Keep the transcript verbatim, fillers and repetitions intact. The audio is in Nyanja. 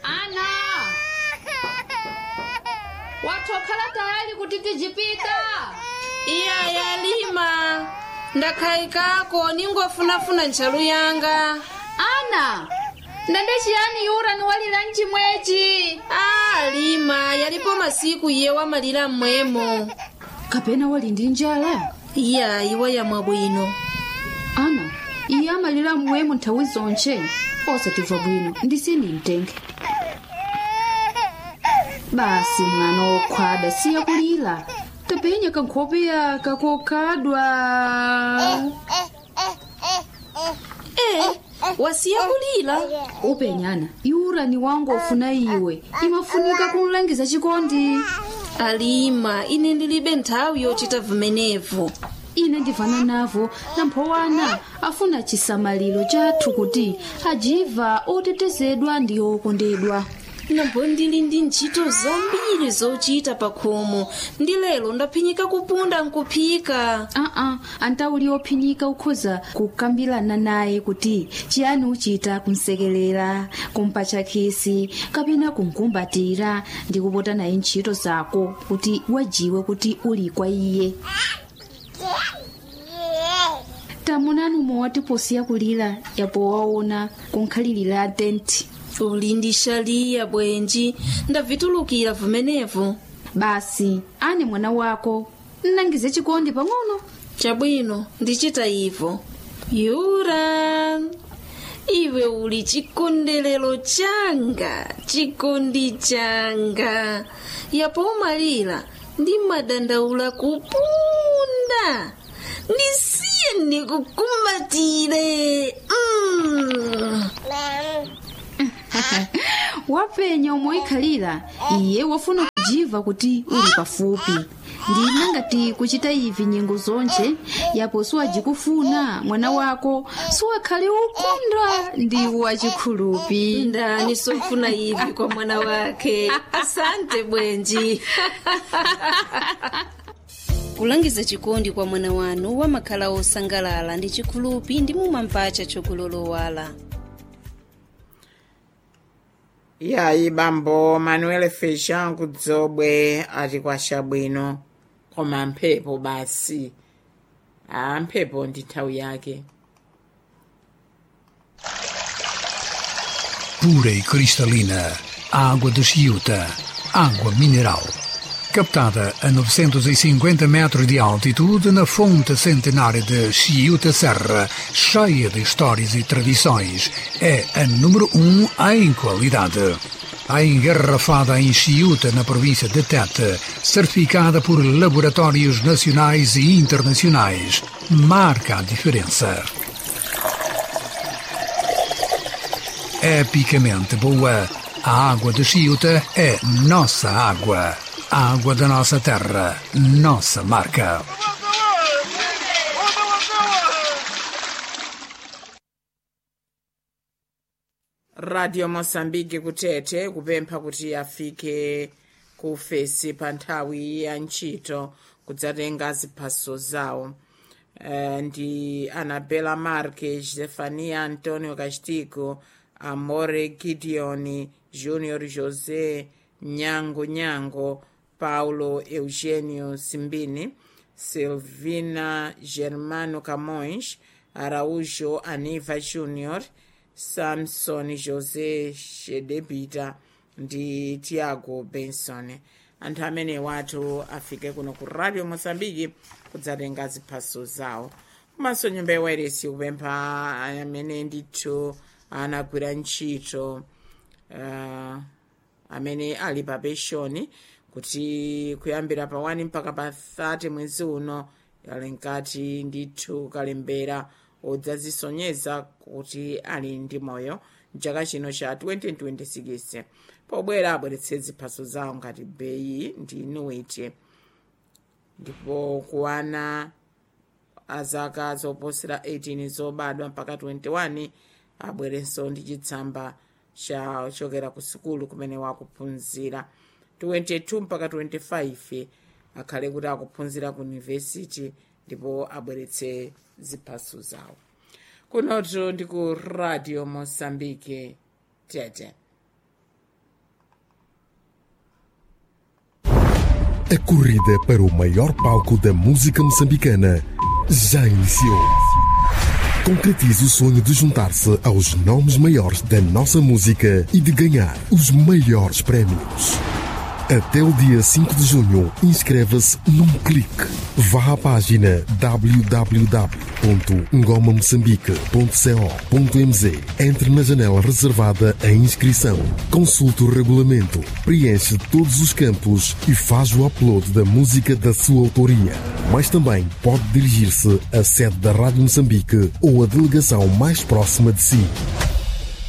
Ana, watokhala tayali kuti tijipita? Iya yalima, ndakhayikako ningofunafuna ntchalu yanga. Ana, ndande chiyani yura niwalira mchimwechi? Ah, lima, yalipo masiku iye wamalira mmwemo. Kapena wali ndi njala? Iya, iwa yamwa bwino. Ana, iye amalira mwemo nthawi zonche, osatimva bwino ndisini mtenge. Basi mwana wokhwada, siya kulira, tapenya kankhope yaka kokhadwa. Eh, wasiya kulira. Upenyana yura ni wangu ofuna iwe, imafunika kumlangiza chikondi. Alima, ine ndilibe nthawi yochita vumenevu. Ine ndivana navo, namphowana afuna chisamaliro chathu kuti ajiva otetezedwa ndi okondedwa. Nambo ndili ndi ntchito zambiri zochita pakhomo, ndi lero ndaphinyika kupunda nkuphika. Aa, antauli ophinyika ukhoza kukambirana naye kuti chiyani uchita kumsekelera, kumpatcha khisi kapena kumkumbatira ndi kupota naye ntchito zako kuti wajiwe kuti uli kwa iye. Tamunani umwe posiya kulira, yapo waona kunkhalirira tenti. Uli ndi shaliya bwenji, ndavitulukira vumenevu. Basi ane mwana wako nnangize chikondi pang'ono. Chabwino, ndichita ivo. Yura, iwe uli chikondelero changa, chikondi changa. Yapo umalira ndi madandaula kupunda. Ndisiye ndikukumbatire. Mm. Wapenya umoikhalira, iye wafuna kujiva kuti uli pafupi. Ndina ngati kuchita ivi nyengo zonche, yapo siwajikufuna mwana wako siwakhale ukondwa ndi wachikhulupi. Ndani sofuna ivi kwa mwana wake? Asante bwenji. Kulangiza chikondi kwa mwana wanu wamakhala osangalala ndi chikhulupi ndi mumampacha chokulolowala. Iyayi, bambo Manuel Feijão kudzobwe ati kwasha bwino, koma mphepo basi. A mphepo ndi nthawi yake. Pura e cristalina, água de Chiuta, água mineral. Captada a novecentos e cinquenta metros de altitude na fonte centenária de Chiuta Serra, cheia de histórias e tradições, é a número um em qualidade. A engarrafada em Chiuta, na província de Tete, certificada por laboratórios nacionais e internacionais, marca a diferença. Epicamente boa, a água de Chiuta é nossa água. A água da nossa terra, nossa marca. Radio Mosambike kutete kupempha kuti afike ku fesi pa nthawi ya ntchito kudzatenga ziphaso zawo. Eh, ndi Anabela Marques, Stefania Antonio Castigo, Amore Gideon Junior, José Nyango Nyango, Paulo Eugenio Simbini, Silvina Germano Camões Araújo, Aniva Junior, Samson José Shedebita ndi Tiago Benson. Anthu amene watu afike kuno ku Radio Mozambiki kudzatenga ziphaso zawo. Komanso nyumba ya wairesi kupempha amene ndithu anagwira ntchito, uh, amene ali pa penshoni kuti kuyambira pa one mpaka pa thirty mwezi uno ali nkati ndithu kalembera odzazisonyeza kuti ali ndi moyo mchaka chino cha twenty twenty-six. Pobwera abweretse ziphaso zawo ngati beyi ndi inuiti, ndipo kuwana azaka zoposera eighteen zobadwa mpaka twenty-one abwerenso ndi chitsamba chachokera ku sukulu kumene wakuphunzira. twenty-two mpaka twenty-five akhale kuti akuphunzira ku university ndipo abweretse ziphaso zawo. Kunotu ndi ku Radio Mosambike Tete. A corrida para o maior palco da música moçambicana já iniciou. Concretize o sonho de juntar-se aos nomes maiores da nossa música e de ganhar os maiores prémios. Até o dia cinco de junho, inscreva-se num clique. Vá à página w w w ponto ngoma moçambique ponto co ponto m z. Entre na janela reservada à inscrição. Consulte o regulamento, preenche todos os campos e faz o upload da música da sua autoria. Mas também pode dirigir-se à sede da Rádio Moçambique ou à delegação mais próxima de si.